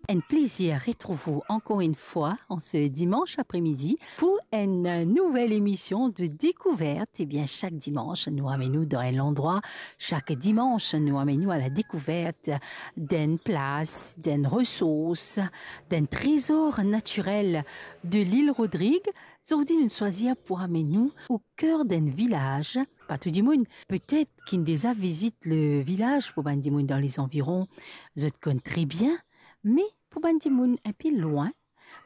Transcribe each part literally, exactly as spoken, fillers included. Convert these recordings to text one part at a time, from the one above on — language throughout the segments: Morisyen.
Enn plezir retrouv ou ankor enn fwa an se dimans apremidi pou enn nouvel emision de Dekouvert. Ebien, sak dimans, nou amenn ou dan enn landrwa. Sak dimans, nou amenn ou a la dekouvert d'enn plas, d'enn resours, d'enn trezor natirel de lil Rodrig. Zordi, nou swazir pou amenn ou o ker d'enn vilaz. Pa tou dimoun, petet, ki'nn deza vizit le vilaz. Pou bann dimoun dan lezanviron, zot konn tre bien, me pou bann dimoun enpe lwin,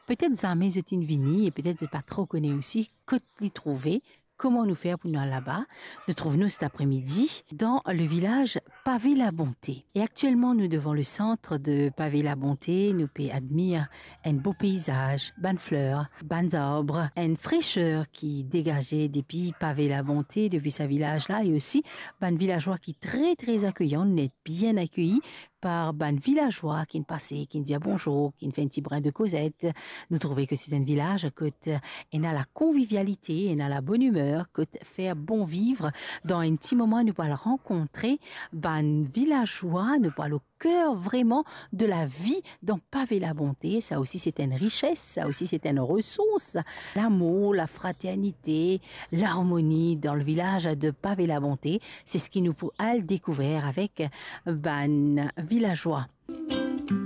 petet zame zot inn vini e petet zot pa tro kone osi kot li trouve, kouma nou fer pou nou al laba. Nou trouv nou set apremidi dan le vilaz Pavé Labonté. E aktielman, nou devan le sant de Pavé Labonté, nou pe admir enn bo peizaz, bann fler, bann zarb, enn freser ki degaze depi Pavé Labonté, depi sa vilaz la, e osi bann vilazwa ki tre, tre akeyan, nou net bien akei par bann vilazwa ki'nn pase, ki'nn dir bonzour, ki'nn fer enn ti brin de kozet. Nou trouve ke se enn vilaz kot ena la konvivialite, ena la bonn imer, kot fer bon viv. Dan enn ti moman, nou pou al rankontre bann vilazwa, nou pou al o ker vreman de la vi dan Pavé Labonté. Sa osi se enn rises, sa osi se enn resours. Lamour, lafraternite, larmoni dan le vilaz de Pavé Labonté, se seki nou pou al dekouver avek bann vilazwa.